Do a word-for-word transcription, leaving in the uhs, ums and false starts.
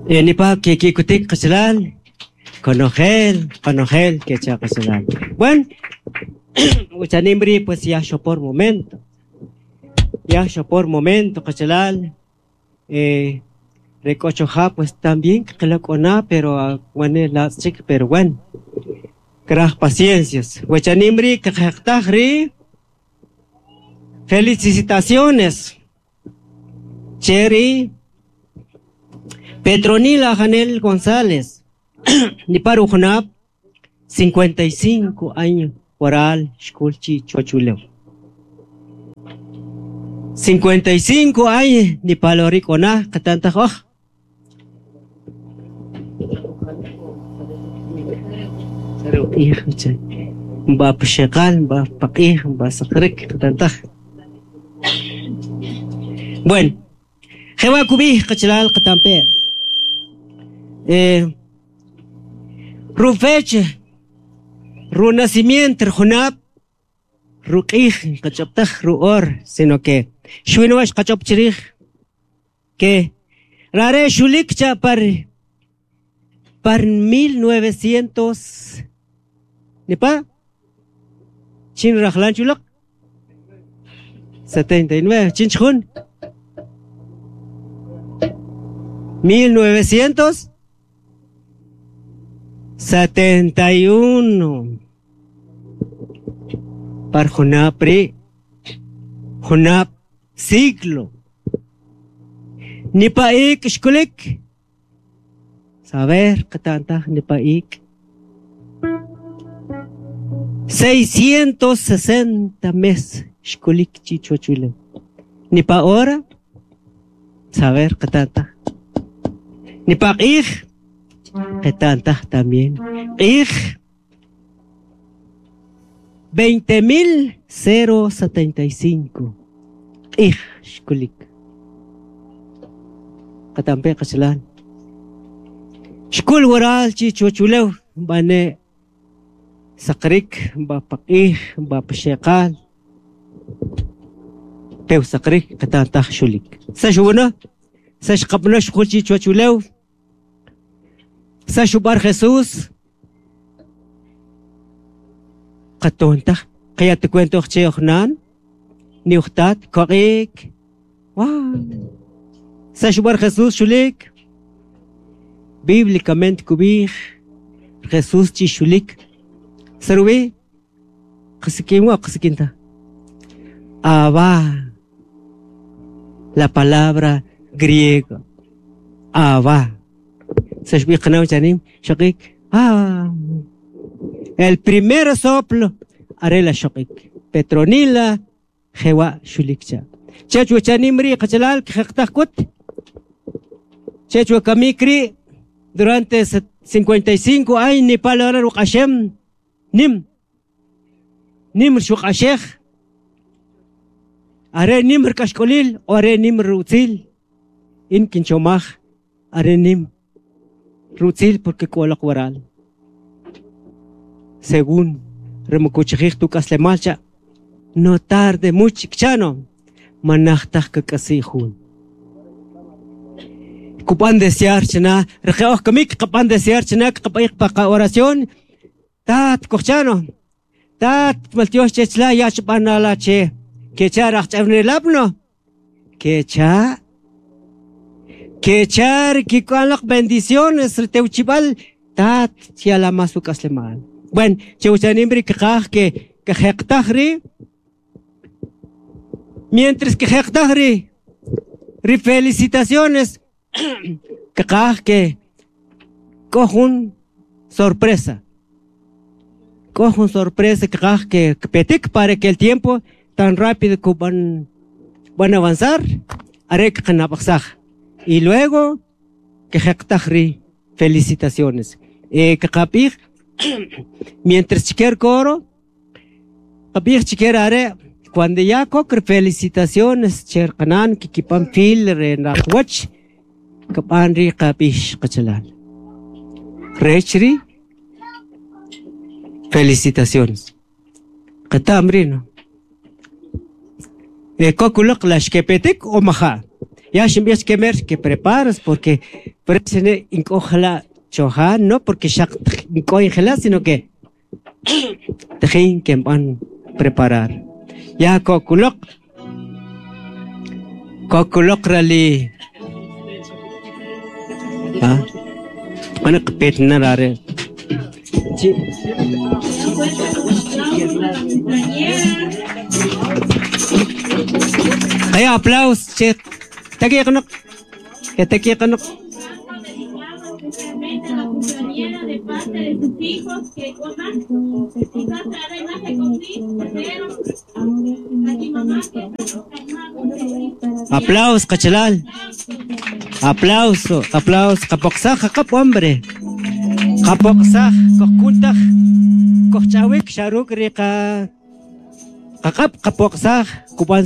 Nipa kikikutik qachalal konojel konojel kecha qachalal. Bueno, uchanimri pues ya por momento. Ya por momento qachalal eh recochoja pues también qilak'ona pero bueno la chik pero bueno. Kraj paciencias. Huechanimri qeqtajri felicitaciones. Cherry Petronila Janel González, Niparu Junab, cincuenta y cinco años, Oral, Xkulchi, Chochuleo. cincuenta y cinco años, Nipalorik Ona, Katantajoj. Bueno, Jehová Kubij, Kachalal, Katampe. Eh, Rufeche, Runacimiento, Junab, Ruqij, Kachoptaj, Ruor, sino que Shuinoash Kachopchirij, que Rare Shulikcha par, par mil novecientos, ¿Nipa? Chin Rajlan Chulak, setenta y nueve, Chin Chun, mil novecientos setenta y uno. Par Junapri, Junap siglo. Nipaik shkulik. Saber katanta nipaik. seiscientos sesenta mes shkulik chichochule. Nipa hora. Saber katanta. Nipaik. Ketanta también. Ik veinte mil cero setenta y cinco. Ik shkulik. Katampe kachalan. Shkul waral chichochulew bane sakrik bapakih bapashekal. Peu sakrik katanta shulik. Sashuna sashqabna shkul chichochulew. Sashubar Jesús. Qatonta, kaya te cuento che ochnan, ni uchtat, korik. Wow. Sashubar Jesús shulik. Bíblicamente kubij Jesús chi shulik. Sarubi, qasikinwa qasikinta. Abba. La palabra griega. Abba. Ah, el primer soplo, arela shokik. Petronila, jewa shulikcha. Chechwa chanimri, kachalal, kjektajkut. Chechwa kamikri, durante cincuenta y cinco años, ni palabra rukashem, nim. Nimr shukashej. Are nimr kashkolil, o are nimr rutzil. In kinchomaj, are nim. Rutzil porque kolak waral. Según remokuchij tu kaslemalcha, no tarde mucho chano, manachtaj kakasijun. Kupan desear chana, rejeoj kamik kapan desear chana, kapaik paka oración, tat kochano, tat maltios chechla yachpanala che, que charach chavnelabno, que cha. Que char que con las bendiciones teuchibal tat chiala masukaslemal. Bueno, cheuchanimri que que que jektajri. Mientras que jektajri, ri felicitaciones que que cojun sorpresa. Cojun sorpresa que que petik para que el tiempo tan rápido que van van a avanzar, arek qanapaxaj. Y luego, que jektajri, felicitaciones. Eh, que kapij, mientras chiquer coro, kapij chiquer are, cuando ya kokr felicitaciones, cherkanan, kikipan fil, renachwach, kapanri kapij kachalal. Rechri, felicitaciones. Katamri, no. Eh, kokulok lashkepetik o maja. Ya ximb'ij kemer que preparas porque por eso ink'ojla choja no porque xaq nk'o injela sino que tejin que van preparar. Ya kokulok kokulok rali ah ana qpet narare chi Kaya aplaus che taki kanok que taki kanok la cumpleañera de parte de sus hijos que Aplaus kachalal. Aplauso, aplauso. Kapoksaj kakap hombre. Kapoksaj kokuntaj kochawik sharuk rika kakap kapoksaj kuban